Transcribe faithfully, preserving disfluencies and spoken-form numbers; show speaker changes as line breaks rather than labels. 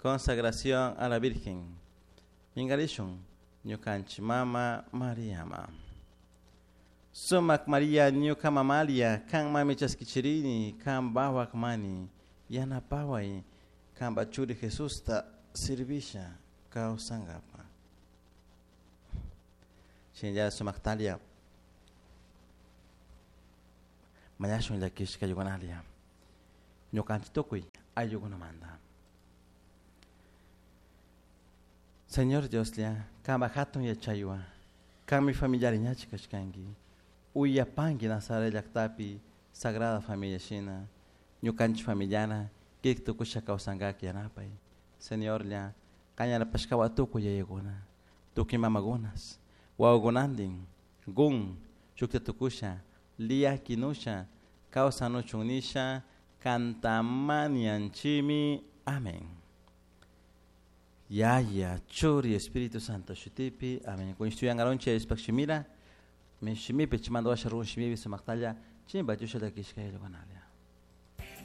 Consagración a la Virgen. Mingarishun ñukanchik mama Mariama. Sumak Maria ñuka mamalia kan mami chaskichirini kan bawak mani yanapaway kanpa churi Jesusta servisha kawsankapa. Shinalla sumaktalia mañashun llakishka ayukunalia ñukanchik tukuy ayllukunamanta. Señor Dioslla, kanpa hatun yachaywan, kanmi familiari ñachi kashkanki, uyapanki Nazaret llaktapi Sagrada Familia shina, ñukanchik familiana kik tukusha kawsankak yanapay. Señorlla, kan yanapashkawan tukuy yayakuna, tukuy mamakunas, wawakunantin, gun, shukta tukusha, lia kinusha, kawsanuchun nisha, kantamanianchimi. Amén. Yaya, Churi, Espíritu Santo, shutipi, amén. Kun ishtuyangaronche ispak shimira, min shimipi chimando washa run shimipi sumaktalla, chimba chusha llakishka ayllukunalia.